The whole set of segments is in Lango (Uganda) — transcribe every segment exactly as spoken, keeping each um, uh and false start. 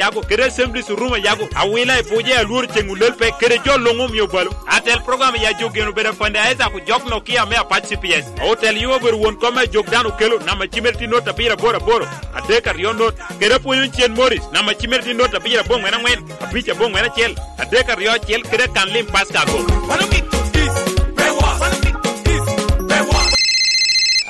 Yago, kede Assemblies Room a Yago, Awila i Buja, Alwor Ceŋ Olel pe, kede jo luŋ omio balo. Atel program ya jo geno bedo Fande Isaac Ojok Nokia me Apac C P S. Otel yo obedo won kom a jok dano okelo, namba cimere tye not abiro aboro aboro, adek aryo not, kede apwonyo cen Morris, namba cimere tye not abiro aboŋwen aŋwen, abic aboŋwen acel, adek aryo acel, kede kan lim Pascal Agok.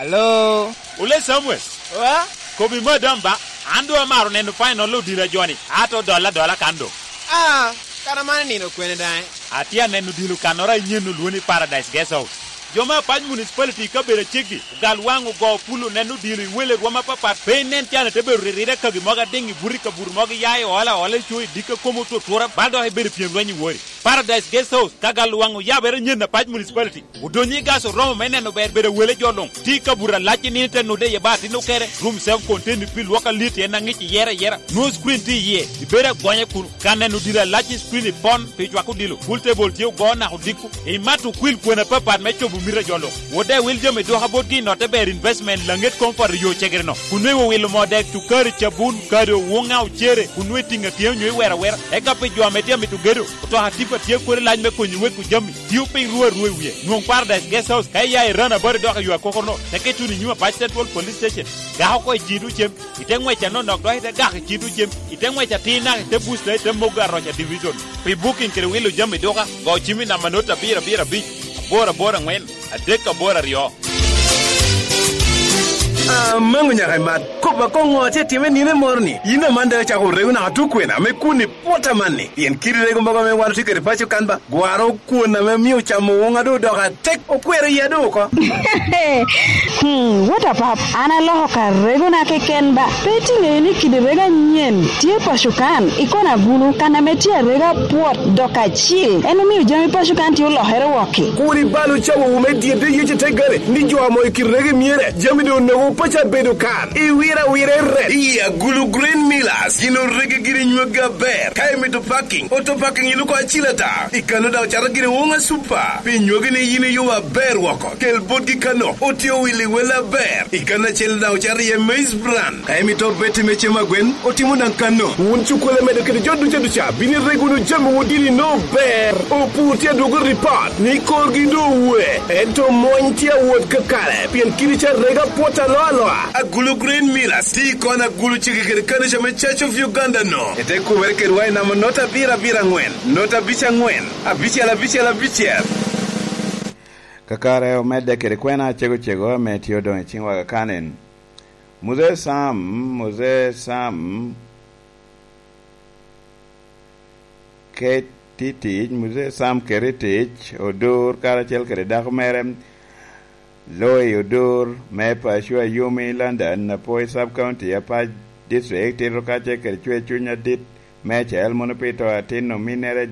Alo? Ole Samuel. Wa? Kobi madam ba, an doŋ amaro neno final odilo a joni, ato dola dola kan doŋ. Ah, kara man nino kwene daŋ? Atye aneno odilo kannoro a inyen olwoni Paradise Guest House. Jo me Apac Municipality i kabedo aceggi, ogal waŋ ogo pulo neno odilo i wele rwom apapat, pe inen can ite bedo riride kagi mogo adiŋ i buto i kabuto mogo iya i ola ola i co i dikka kom otutura, bal dok ibedo pyem lweny i wori. Paradise Guest House, ka gal waŋ oyabere nyen Apac Municipality. Odonyo i gas oromo me neno ber bedo wele jo luŋ. Tye i kabuto alac i nino ite nude iye ba atin okere. Room self contained pi lwok alit en aŋic iyere ayera. Nwoŋo screen tye iye. Ibedo agonya kunu. Ka neno odilo alac i screen ipon pi cwako odilo. Pool table tye ogo naka odiko. Imato okwil kwena apapat me cobo mito a jo luŋ. Wode wil jami dwoka botgi i notte ber investment laŋet comfort i yo cegere no. Kun nweŋo wilo moo dek, cukari, cabun, kado, wuŋa, ocere, kun nweŋo itiŋo atyeo nyo iwero awera. Eka pi jo ame tye amito gedo, otoka tipa tye kodi lac me konyo weko jami. Tio piny ruu arua i wie. Nwoŋ Paradise Guest House ka iya i Rana Bari dok i yo akokono, teke tuno i nyim Apac Central Police Station. Gak oko i cito cem, ite ŋwec anonok dok ite gak i cito cem, ite ŋwec atir naka ite busta ite mogo aroca division. Pi booking kede wilo jami duka, go cim i namba not abiro abiro abic, aboro aboro aŋwen, adek aboro aryo. Amaŋo nyaka imat, kop akoŋo atye atime nino moro-ni? Yin aman daŋ icako rego naka tukwena ame kun i pwot amanni, pien kit rego mogo ame wan otye kede paco kan ba, gwaro kwon ame mio camo woŋa doŋ odoko atek, okwero iya doŋ oko. Hmm, what a pap, an aloko ka regona keken ba. Pe itiŋeyo ni kidi rego anyen tye paco kan, i kona gulu, kan ame tye arega pwot dok acil, en omio jami paco kan tye olokere wok-ki. Kur ibal ocawowu me dyedde yece te gare, ni jo amo i kit rego myere, jami doŋ onogo paco abedo kan. Iwira awira i rep. Iya, gulu Green Millers, gin orege giri nywagi aber. Ka imito parking, auto parking iluko acil ata. I kano daŋ ocato giri woŋa super. Pi nywagi ni yin iyo aber woko, kel botgi kano, otye owili wel aber. I kano acel daŋ ocato iye maize bran. Ka imito beti me cem agwen, otimo daŋ kano. Wun cukkole medo kede jo duca duca, bino ireg wunu jami wun dini no ber. Opur tye adwogo ripot ni korgi doŋ owe, ento mony tye awot kakare, pien kidi ca rega pwot alo aloa. Agulu Green Millers, ti kon agulu ciki kede kanica me Church of Uganda no. Ete kumere kedwa i namba not abiro abiro aŋwen, not abic aŋwen, abicel abicel abicel. Kakare omedde kede kwena cego cego ame tye odoŋ i ciŋwa kakanen. Muzee Sam, Muzee Sam, ket i tic, Muzee Sam ket i tic, Odur karacel kede dako mere, Loi Odur me Pacua Yumi London, Apoi Sub County, Apac District, tito kacel kede cwer cuny adit meicel, mono pi to atin ominnere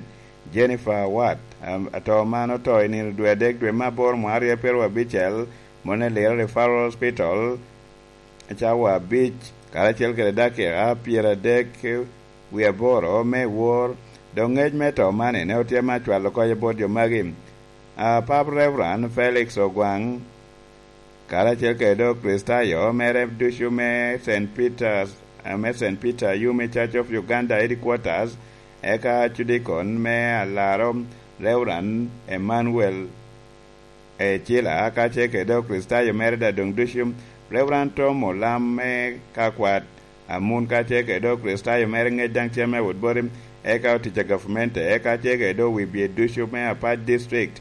Jennifer Awat, am-, ato man oto i nino dwe adek dwe me aboro mwaka aryo pyeraryo abicel, mono i Lira Referral Hospital, cawa abic, karacel kede dakika pyeradek wie aboro me wor. Dok ngec me to man ene otyema acwalo koko bot jo magi. A, Pap Reverend Felix Ogwang, karacel kede dok Kricitayo mere ducu me Saint Peter's, a, me Saint Peter Yumi Church of Uganda Headquarters, eka Cudikon me Alaro Reverend Emmanuel Ecila, kacel kede dok Kricitayo mere daŋ doŋ ducu, Reverend Tom Olam me Kakwat, Amun, kacel kede dok Kricitayo mere ŋec daŋ cem me wot boti, eka otic a gavumenti, eka kacel kede dok wi bye ducu me Apac District.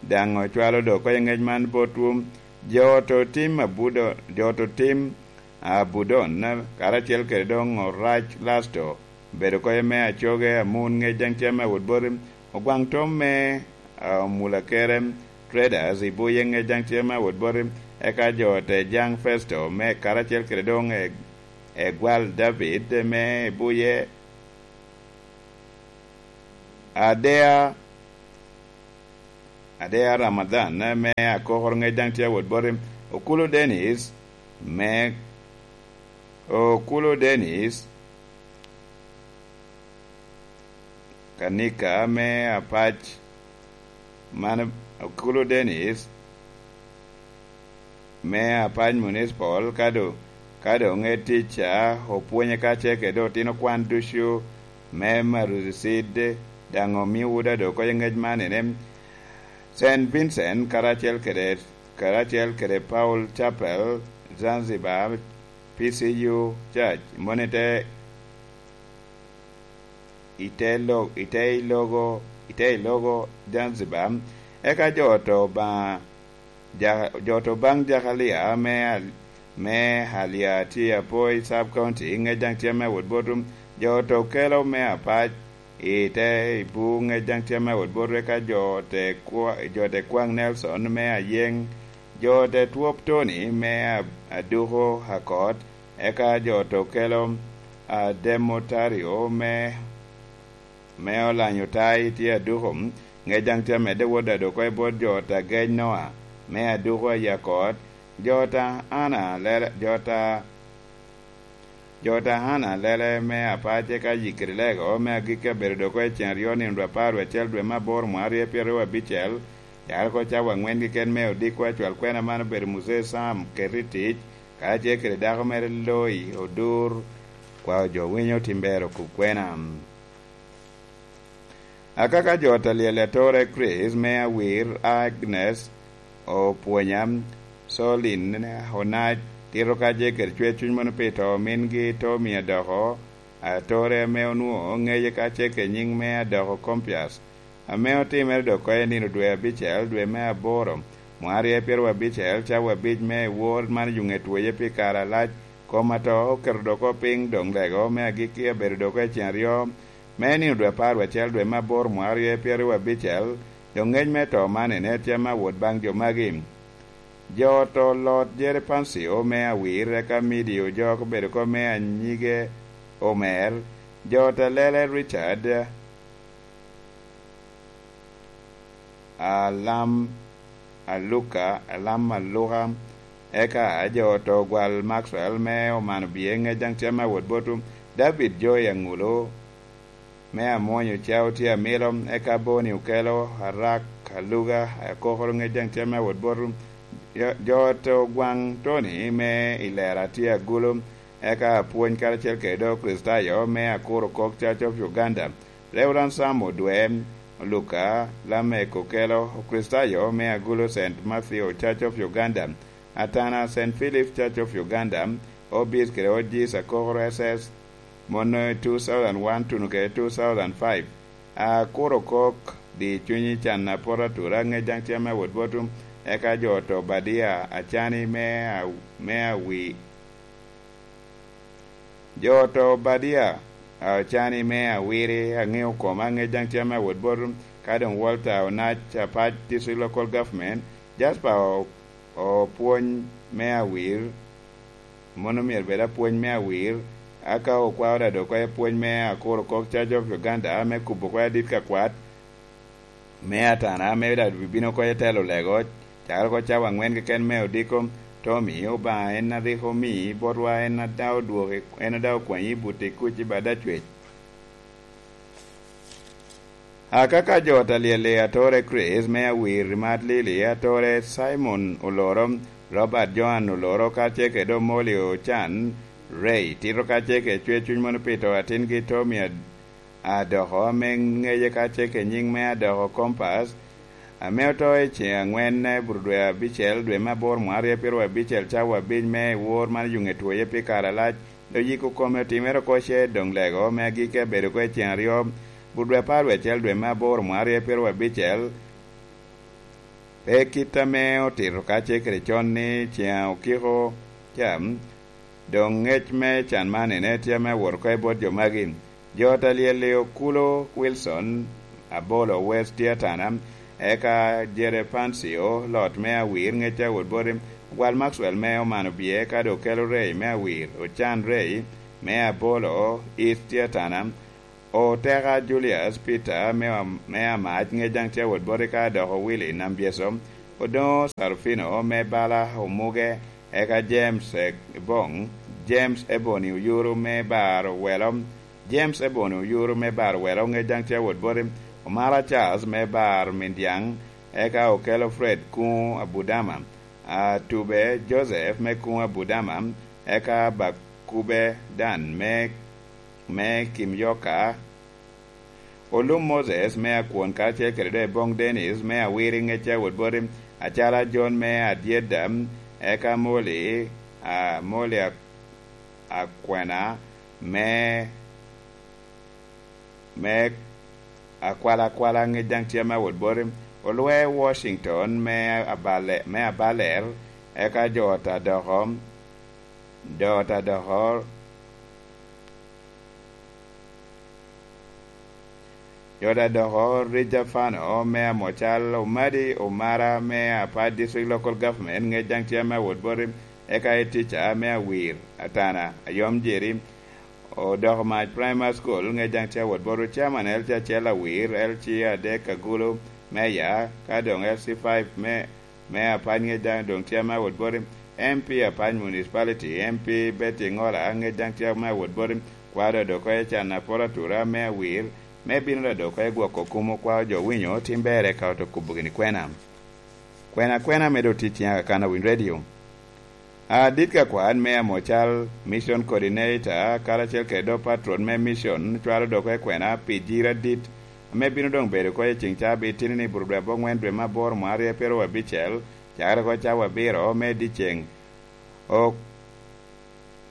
Daŋ ocwalo dok oko i ŋec man botwu. Jo oto tim Abudo, jo oto tim Abudon, karacel kede doŋ Orac Lasto, bedo koye me acoge Amun ŋec daŋ cem me wot boti, Ogwaŋ Tom me, a, Omulakere Traders i Buye ŋec daŋ cem me wot boti, eka jo ote jaŋ Festo me karacel kede doŋ e, Egwal David me Buye, Adea Adea Ramadhan, eh, me Akokoro ŋec daŋ tye awot boti. Okulu Dennis me, Okulu Dennis Kanika me Apac, man Okulu Dennis me Apac Municipal, ka doŋ Ka doŋ ŋet tic ca, opwonye kacel kede otino kwan ducu me Maruzicid, daŋ omio Wuda doŋ oko i ŋec man ene. Saint Vincent karacel kede, karacel kede Paul Chapel, Zanzibar, P C U Church, moni te i te lo-, i te i logo, i te i logo Zanzibar. Eka jo oto Obaŋa, ja-, jo oto baŋ Jakalia me Al-, me Alia tye apo i Sub County, ŋec daŋ tye me wot botum. Jo oto kelo me apac i te i bu, ŋec daŋ tye me wot botum. Eka jo te kwa-, jo te kwaŋ Nelson me Ayeŋ, jo te twop Tony me A-, Aduko Akot, eka jo oto kelo, a, Demotario me, me Olanyo Tai tye Aduko, ŋec daŋ tye amedde wot ado oko i bot jo oto agec Noa me Aduko a Yakot, jo oto Ana lele, jo oto, jo oto Ana lele me apac, eka Yikiri Lego me agikki abedo doŋ oko i ceŋ aryo nino dwe apar dwe acel dwe me aboro mwaka aryo pyeraryo abicel, cakere oko cawa aŋwen keken me odiko acwal kwena man obedo Muzee Sam Keti Tic, karacel kede dako mere Loi Odur, kwao jo winyo Timbero Kukwena. Akaka jo oto alyel atora Chris me Awir, Agnes Opwonya, Solin Onac, tito kacel kede cwer cuny mono pi to mingi Tommy Adoko, atore ame onwoŋo ŋeye kacel kede nyiŋ me Adoko Compias, ame otimere doŋ oko i nino dwe abicel, dwe me aboro, mwaka aryo pyeraryo abicel, cawa abic me wor man yuŋe twoye pi kare alac. Kom ato oketo doŋ oko piny doŋ lego me agikki abedo doŋ oko i ceŋ aryo me nino dwe apar acel, dwe me aboro, mwaka aryo pyeraryo abicel. Doŋ ŋec me to man ene tye ame awot baŋ jo magi. Jo oto Lot Jere Pancio me Awir, eka Midi Ojok obedo oko me anyige Omer. Jo oto Lele Richard Alam Aluka, Alam Aluka, eka jo oto Gwal Maxwell me Omano Bye, ŋec daŋ tye ame awot botu. David Joy Aŋulu me Amwonyo Cao tye amilo, eka Boni Okelo, Arak Aluga, Akokoro, ŋec daŋ tye ame awot botu. Jo, jo oto Gwaŋ Tony me Ilera tye Agulu, eka apwony karacel kede Okricitayo me Akuro Kok Church of Uganda, Reverend Sam Odwe, Luka, Lamek Okelo, Okricitayo me Agulu Saint Matthew Church of Uganda, Atana Saint Philip Church of Uganda, Obis kede Ojis Akokoro S S, mono i two thousand one tuno kede two thousand five. Akuro Kok, di cunyi can apot atura, ŋec daŋ tye ame awot botu, eka jo oto Obadia Acani me a-, me Awi-, jo oto Obadia Acani me Awiri, aŋeo koma, ŋec daŋ tye ame awot botu, ka doŋ Walter Onac Apac, District Local Government, Jasper O-, Opwony me Awir, mono myero bed apwony me Awir, aka okwao dado oko i apwony me Akuro Kok Church of Uganda, me kubo oko adit ka kwat, me Atana, me dado bibino oko i telo lego, cakere oko cawa aŋwen keken me odiko. Tommy, Obaŋa en a rik omi botwa, en a daŋ odwoki, en a daŋ okwanyi i buti kuc i bad acwec. Akaka jo oto alyel-li, atore Chris me Awir, Mat Lili, atore Simon Oloro, Robert Joan Oloro, kacel kede Omoli Ocan Ray, tito kacel kede cwer cuny mono pi to atingi Tommy Ad-, Adoko, ame ŋeye kacel kede nyiŋ me Adoko Compass, ame oto i ceŋ aŋwen i buto dwe abicel, dwe me aboro, mwaka aryo pyeraryo abicel, cawa abic me wor man yuŋe twoye pi kare alac. Oyiko kome otimere oko ce, doŋ lego me agikki abedo oko i ceŋ aryo, but dwe apar wie acel, dwe me aboro, mwaka aryo pyeraryo abicel. Pe kit ame otito kacel kede con ni ceŋ okiko ca, doŋ ŋec me can man ene tye ame awot oko i bot jo magi. Jo oto alyel-li, Okulo Wilson, Abolo West tye Atana, eka Jere Pancio, Lot me Awir, ŋec a wot boti, Ogwal Maxwell me Omano Bye, eka doŋ Okelo Ray me Awir, Ocan Ray me Abolo East tye Atana, Oteka Julius Peter me Am-, me Amac, ŋec daŋ tye a wot boti, ka dok Willy Nambyeso, Odoŋo Sarufino me bala Omuge, eka James Ebong, James Ebony Oyuru me Bar Owelo, James Ebony Oyuru me Bar Owelo, ŋec daŋ tye a wot boti, Omara Charles me Bar Mindiaŋ, eka Okelo Fred Kuŋo Abudama, Atube Joseph me Kuŋo Abudama, eka Bakube Dan me, me Kimyoka, Olum Moses me Akwon karacel kede doŋ Ebong Dennis me Awiri ŋec a wot boti, acala John me Adyeda, eka Moli, a, Moli a, Akwena me, me Akwalakwala ŋec daŋ tye me wot boti, Olwe Washington me Abale-, me Abaler, eka jo ot adoko, jo ot adoko, jo ot adoko Rija Fano me Amocal, Omadi Omara me Apac District Local Government ŋec daŋ tye me wot boti, eka Etica me Awir, Atana, Ayom Jeri, Odoko Mac Primary School ŋec daŋ tye awot boti, Chairman L C acel Awir, L C adek Agulu, Mayor, ka doŋ L C five me, me Apac ŋec daŋ doŋ tye me awot boti, M P Apac Municipality, M P Betty Ŋola ŋec daŋ tye me awot boti, kwaro doŋ oko Ecan Apol Atura me Awir, me bino doŋ oko gwoko kumo kwao jo winyo tim ber eka oto kubo gini kwena. Kwena kwena me doŋ tic ciŋ aka kan a Winy Radio. Adit ka kwan me Amocal Mission Coordinator karacel kede doŋ patron me mission cwalo doŋ oko kwena pi jiri adit ame bino doŋ bedo oko i ceŋ cabit, tini ni bur dwe aboŋwen dwe me aboro mwaka aryo pyeraryo abicel, cakere oko cawa abiro me dyeceŋ. Ok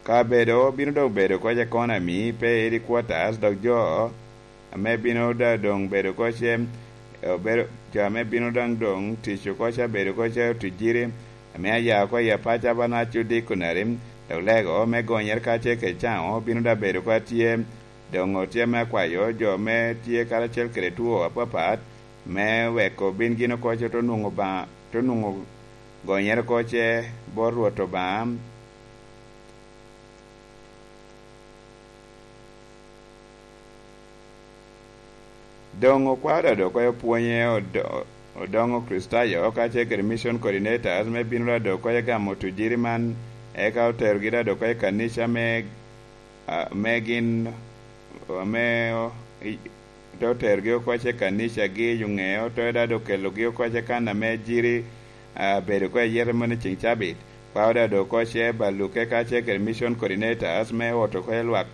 kabedo bino doŋ bedo oko economy pe headquarters, dok jo ame bino da-, doŋ bedo oko ce, obedo, jo ame bino daŋ doŋ tic oko ca bedo oko ce otuc jiri, ame aya oko i apac abanac odeconary, dok lego me gonyere kacel kede caŋo bino da bedo oko atye, doŋ otye me akwayo jo me tye karacel kede two apapat, me weko bin gin oko ce oto nwoŋo Obaŋa, oto nwoŋo gonyere oko ce bot Rwot Obaŋa. Doŋ okwao dodo oko opwonye odo-, odoŋo Kricitayo kacel kede mission coordinators me bino dodo oko gamo tujiri man, eka oterogi dodo oko i kanica me, a, me gin, ame o-, i-, te oterogi oko ce kanicagi i oŋeo, te dodo okelogi oko ce kan ame jiri, a, bedo oko i yete moni ceŋ cabit. Kwao dodo oko ce baluke kacel kede mission coordinators me oto oko lwak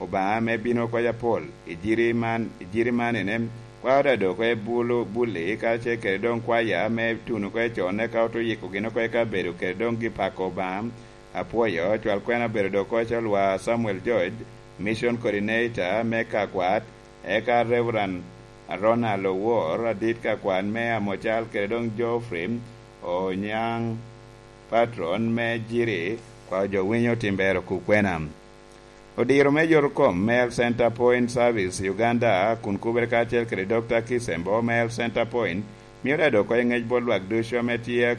Obaŋa me bino oko apol i jiri man, i jiri man ene, kwao dodo oko bulu, bulli kacel kede doŋ kwaya me tuno oko con, eka oto yiko gin oko eka bedo kede doŋ gi pako Obaŋa. Apwoyo cwal kwena obedo doŋ oko ce olwa Samuel George, mission coordinator me Kakwat, eka Reverend Ronald Owor, adit ka kwan me Amocal, kede doŋ Geoffrey Onyaŋ, patron me Jiri, kwao jo winyo tim ber oku kwena. Odiro me yotokom me Health Center Point Service Uganda kun kubere kacel kede Dokta Kisembo me Health Center Point mio dodo oko ŋec bot lwak ducu ame tye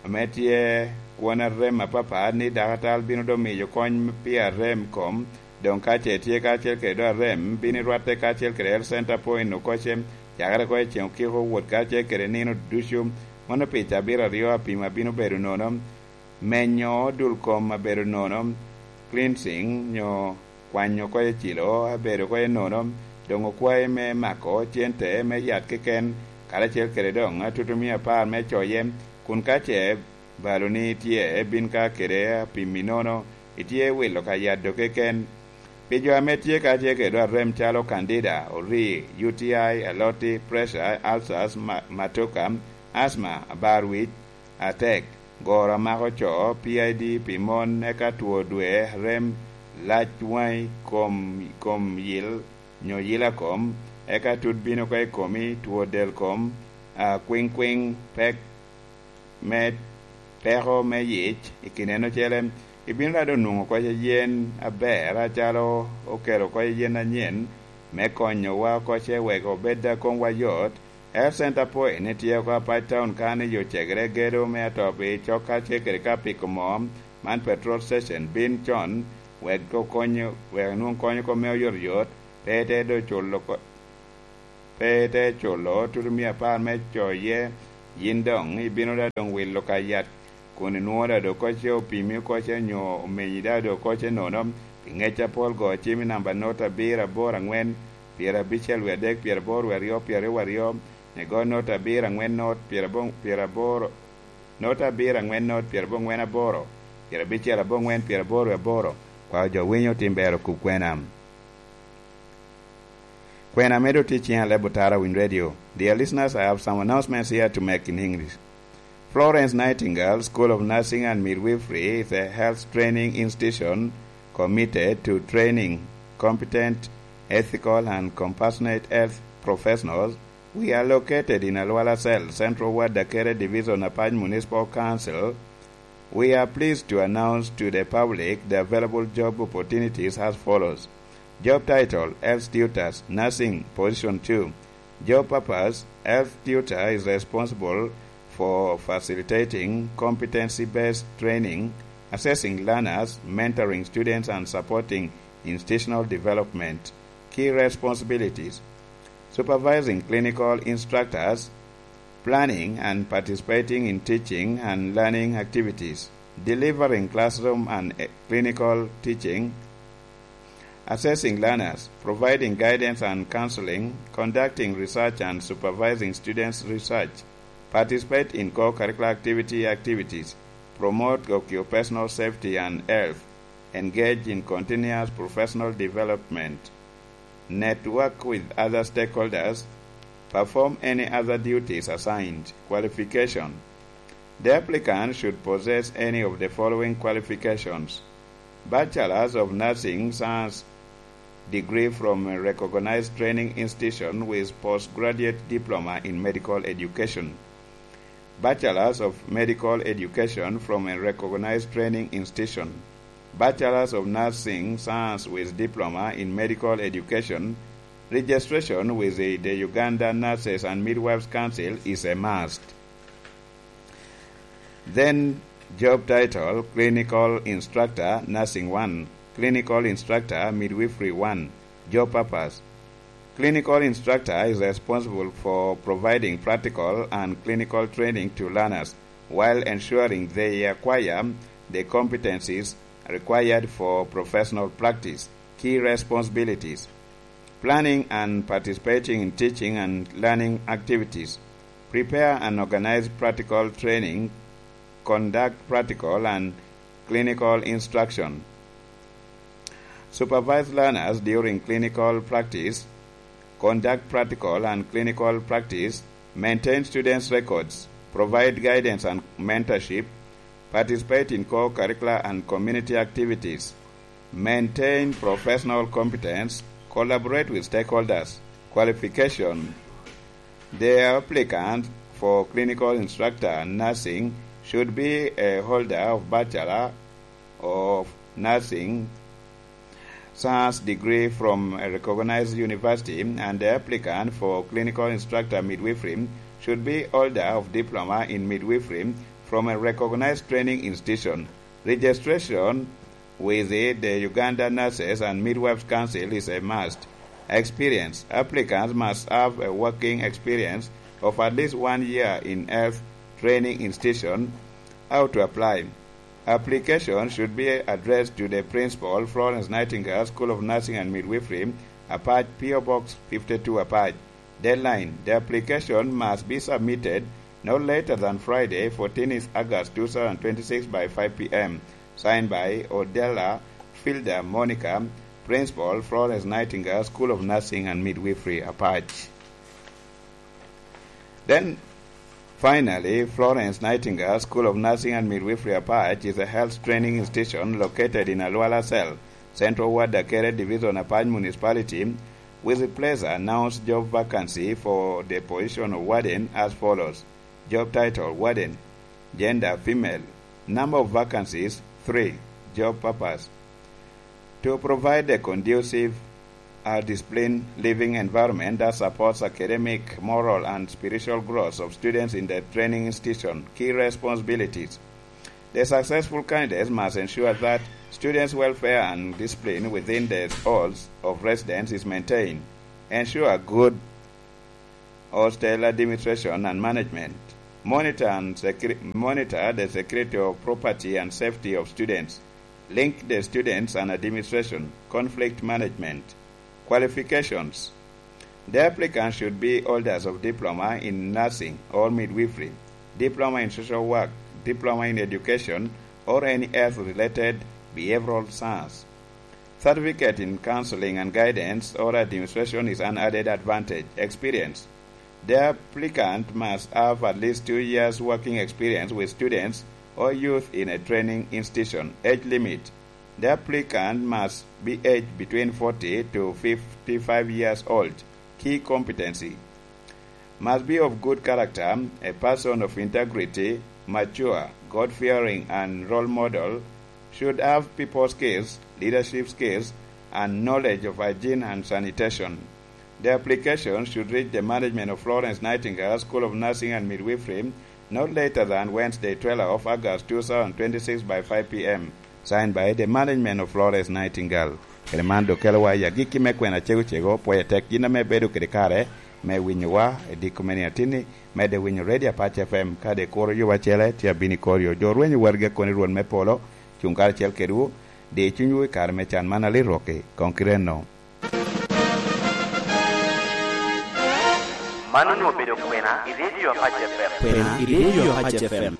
ame tye kwon arem apapat, ni dakatal bino doŋ miyo kony pi arem kom, doŋ ka ce tye kacel kede doŋ arem, bino i rwatte kacel kede Health Center Point oko ce, cakere oko i ceŋ okiko wot kacel kede nino ducu. Mano pi cabit aryo apimo abino bedo nono, menyo dul kom abedo nono, cleansing, nyo kwanyo oko ecilo abedo oko enono, doŋ okwayi me mako cente me yat keken, karacel kede doŋ atutumia apar me coye, kun ka ce baloni tye, bin ka kede apimmi nono, itye wilo ka yat doŋ keken. Pi jo ame tye kacel kede doŋ arem calo candida, ori, U T I, aloti, pressure, ulcers, ma-, matoka, asthma, abar wic, atek, goro amako co, P I D pi mon, eka two dwe, rem, lac waŋi, kom, kom yil, nyo yila kom, eka tut bino oko i komi, two del kom, a, kwiŋ kwiŋ, pek me, peko me yic, i kin en ocele, ibino rado nwoŋo oko yen aber, acalo okelo oko yen anyen me konyowa oko ce wek obed a komwa yot, Health Center Point tye oko Apac Town kan i yo cegere gedo me atop i cok kacel kede ka piko moo, man petrol station, bin con wek okonyo, wek nwoŋ kony oko me oyotoyot, pe ite do culo ko-, pe ite culo tutumia apar me coye, yin doŋ ibino da doŋ wilo ka yat kun inwoŋo da doŋ oko ce opimi oko ce nyo omenyi da doŋ oko ce nono, pi ŋec apol go cim i namba not abiro aboro aŋwen, pyerabicel wie adek, pyeraboro wie aryo, pyeraryo wie aryo, igo not abiro aŋwen not, pyerabo-, pyeraboro, not abiro aŋwen not, pyeraboŋwen aboro, Pyerabicel aboŋwen, pyeraboro aboro. Kwao jo winyo tim ber okub kwena. Kwena medo tye ciŋ aleb otara Winy Radio. Dear listeners, I have some announcements here to make in English. Florence Nightingale School of Nursing and Midwifery is a health training institution committed to training competent, ethical, and compassionate health professionals. We are located in Alwala Cell, Central Ward, Dakere Division, Apac Municipal Council. We are pleased to announce to the public the available job opportunities as follows. Job title: Health Tutors, Nursing, Position two. Job purpose: Health Tutor is responsible for facilitating competency-based training, assessing learners, mentoring students, and supporting institutional development. Key responsibilities: supervising clinical instructors, planning and participating in teaching and learning activities, delivering classroom and, eh, clinical teaching, assessing learners, providing guidance and counseling, conducting research and supervising students' research, participate in co-curricular activity activities, promote occupational safety and health, engage in continuous professional development, network with other stakeholders, perform any other duties assigned. Qualification: the applicant should possess any of the following qualifications: Bachelors of Nursing Science degree from a recognized training institution with postgraduate diploma in medical education. Bachelors of Medical Education from a recognized training institution. Bachelors of Nursing Science with diploma in medical education. Registration with the, the Uganda Nurses and Midwives Council is a must. Then, job title: Clinical Instructor, Nursing one, Clinical Instructor, Midwifery one. Job purpose: clinical instructor is responsible for providing practical and clinical training to learners while ensuring they acquire the competencies required for professional practice. Key responsibilities: planning and participating in teaching and learning activities, prepare and organize practical training, conduct practical and clinical instruction, supervise learners during clinical practice, conduct practical and clinical practice, maintain students' records, provide guidance and mentorship, participate in co-curricular and community activities, maintain professional competence, collaborate with stakeholders. Qualification: the applicant for clinical instructor nursing should be a holder of Bachelor of Nursing Science degree from a recognized university, and the applicant for clinical instructor midwifery should be holder of diploma in midwifery from a recognized training institution. Registration with the Uganda Nurses and Midwives Council is a must. Experience: applicants must have a working experience of at least one year in health training institution. How to apply: application should be addressed to the principal, Florence Nightingale School of Nursing and Midwifery, Apac, P O Box fifty-two, Apac. Deadline: the application must be submitted no later than Friday, fourteenth August two thousand twenty-six, by five p.m. Signed by Odella Fielder Monica, Principal, Florence Nightingale School of Nursing and Midwifery, Apac. Then, finally, Florence Nightingale School of Nursing and Midwifery, Apac is a health training institution located in Alwala Cell, Central Ward, Dakere Division, Apac Municipality, with a place announced job vacancy for the position of warden as follows. Job title: Warden. Gender: female. Number of vacancies: three. Job purpose: to provide a conducive, uh, disciplined living environment that supports academic, moral, and spiritual growth of students in the training institution. Key responsibilities: the successful candidates must ensure that students' welfare and discipline within the halls of residence is maintained, ensure good hostel administration and management, monitor and secre-, monitor the security of property and safety of students, link the students and administration, conflict management. Qualifications: the applicant should be holders of diploma in nursing or midwifery, diploma in social work, diploma in education, or any health-related behavioral science. Certificate in counseling and guidance or administration is an added advantage. Experience. The applicant must have at least two years working experience with students or youth in a training institution. Age limit. The applicant must be aged between forty to fifty-five years old. Key competency. Must be of good character, a person of integrity, mature, God-fearing, and role model, should have people skills, leadership skills, and knowledge of hygiene and sanitation. The application should reach the management of Florence Nightingale School of Nursing and Midwifery not later than Wednesday, twelve of August, two thousand twenty-six, by five p.m. Signed by the management of Florence Nightingale. Kede man dok kelowa i agikki me kwena cego cego, pwoyo tek gin ame ibedo kede kare me winyowa i diko me nino atinni. Medde winyo Radio Apac F M, kadi ikuro yo acele, tye abino i kor yo. Jo rwenyo wargi akoni Rwot me polo, cuŋ karacel kedwu, di cunywu i kare me can man alit rwokki, koŋ kite enno. Man onwoŋo obedo kwena i Radio Apac F M. Kwena i Radio Apac F M.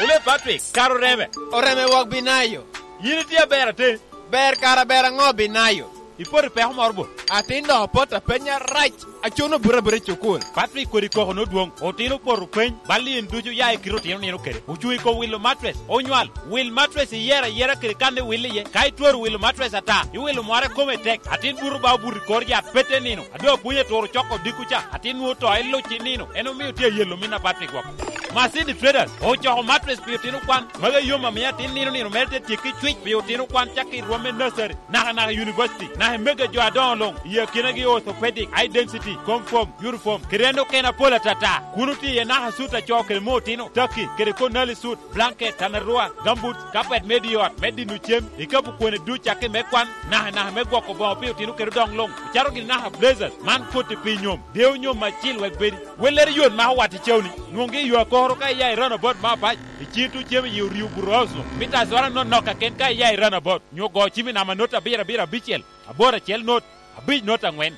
Ole Patrick, kara oreme. Oreme wok binayo. Yin itye aber ate? Ber kara ber aŋo binayo? Ipoto i peko moro bo? Atin dok opot apenya rac. Acuno buto abuta i cukul. Patrick kodi koko nodwoŋ. Otino opoto peny. Bal in ducu ya i kite otino nino kede. Ocuŋ i kom wilo matres. Onywal. Wil matres iyero ayera kede kan iwil iye. Ka itwero wilo matres ata, iwilo mware kome tek. Atin buto ba obuto i kor yat pete nino. A doŋ apwony aturo coko odiko ca, atin nwoŋo to iluc i nino. En omio tye ayelo min a Patrick woko. Masindi Traders ocoko matres pi otino kwan. Magi yom amio atin nino nino mere te tyekki cwic pi otino kwan cakki i rwom me nursery, naka naka i university, naka i mege jo adoŋo luŋ, i akinagi orthopedic, eye density, comfort, uniform, kede en okene apol atata. Kun otye iye naka sut a co kede me otino, taki, kede konali sut, blanket, tanarua, gumboots, carpet me di ot, me dino cem, ikapu kwene duc cakki me kwan, naka naka me gwoko boŋo pi otino kede odoŋ luŋ, ocato gini naka blazers, man koti pi nyom, deo nyom acil wek bedi. Wellere yot mako wat i cawni, nwoŋgi i yo akoro ka iya i runabout me Apac, i cito cem i oryo Burohouse-nu, mita azora nonok kaken ka iya i runabout, nyo go cim i namba not abiro abiro abicel, aboro acel not, abic not aŋwen.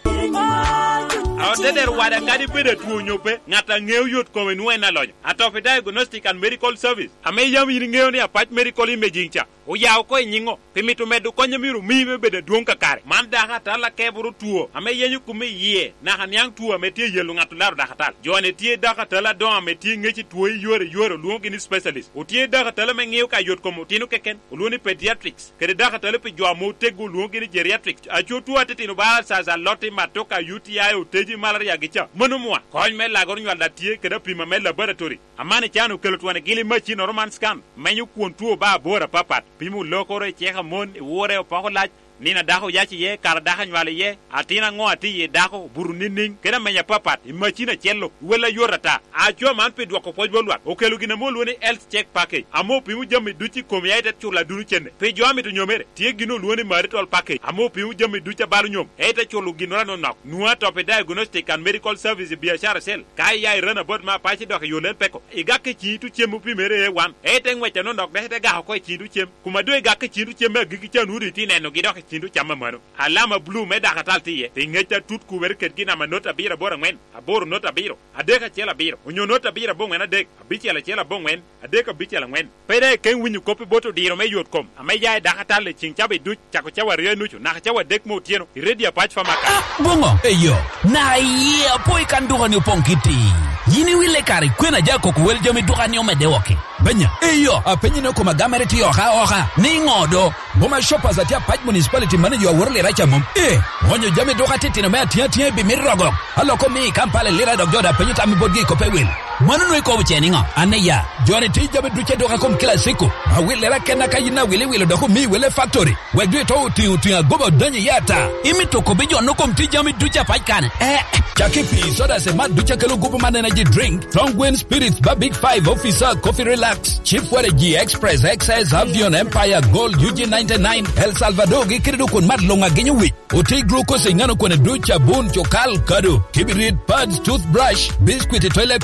A otedero wada kadi bedo atwo nyo pe, ŋat a ŋeo yot kome nwoŋo en alonyo. Atopi Diagnostic and Medical Service, ame yam yin iŋeo ni Apac Medical Imaging ca, oya oko i nyiŋo, pi mito medo kony a myero omi me bedo adwoŋ kakare. Man dako atal akeboro two, ame yenyo kume i yie, naka niaŋ two ame tye yelo ŋat olaro dako atal. Jo-ni tye dako atal adoŋo ame tye ŋec i two i yore i yore, olwoŋogi ni specialist. Otye dako atal ame ŋeo ka yot kom otino keken, olwoŋo ni pediatrics. Kede dako atali pi jo ame oteggo olwoŋogi ni geriatric. Aco two atitino ba alsas, aloti, matoka, U T I, oteji, malaria gi ca. Mano mwa. Kony me lagoro nywal a tye kede apima me laboratory. Amani can okelo twon i gili macinnoro man scan. Menyo kwon two ba aboro apapat. Pimo lokoro i cek a mon, i wore, opoko lac, nino a dako oyac iye, kara dako anywal iye, atin aŋo atye iye dako, buto niŋniŋ, kede amenya apapat, i macin acel-lo, wel ayot ata. Aco man pi dwoko pwoc bot lwak, okelo gin ame olwoŋo ni health check package, ame opimo jami ducu i komi, aye te culo aduno cene. Pi jo a mito nyomere, tye gin olwoŋo ni marital package, ame opimo jami ducu a balo nyom, aye te culo ginnoro anonok. Nwoŋo atop i diagnostic and medical service i biacara cell, ka iya i runabout me Apac dok i yo Lel Peko, igak i ciŋi tucem opimere A one, aye te ŋwec anonok dok ite gako oko i ciŋi tucem. Kuma doŋ igak i ciŋi tucem me agikki ca, nwoŋo doŋ itye nenogi dok i ciŋi tucam a mano. Alama blu me dakatal tye iye, pi ŋec atut kubere kedgi namba not abiro aboro aŋwen, aboro not abiro, adek acel abiro, onyo not abiro aboŋwen adek, abicel acel aboŋwen, adek abicel aŋwen. Pe daŋ ikeŋ winyo kop i bot odiro me yot kom ame ya i dakatal i ciŋ cawa duc, cako cawa aryo i nucu naka cawa adek me otyeno, i Radio Apac Pharmacy. Ah, boŋo? Eyo, na iye apo i kan duka-ni opoŋ kitti. Yin iwille kare kwena ja koko wel jami duka-ni omedde woko? Benya, eyo, apenyi ni okoma gamere tye oka oka, ni ŋo do? Boma Shoppers atye Apac Municipality manager aworo lira ca mom. Eh, onyo jami duka titino me atiŋ atiŋ i bimit rogo. Aloko mi i Kampala i lira dok jo da penyo tam i botgi i kop ewil. Mano nwe ikobo ce niŋo? An iya, joni tye jami duc eduka kom kila ciko. Awil lira kenna ka yin awil iwilo dok omi wele factory. Wek dwe to otiŋo tiŋ agoba odonyo iye ata. Imito kobbi jo no kom tye jami duc Apac kane? Eh, caki pi soda se mat duc akelo gupu man energy drink, Strong Wind Spirits ba Big Five Officer, Coffee Relax, Chief Waragi Express, X S, Avion, Empire, Gold, U G ninety-nine, El Salvador gi kede dok kun mat luŋ agenyo wic. Oti glucose i ŋano kone duc, abun, cukal, kado, kibirit, pads, toothbrush, biscuit, toilet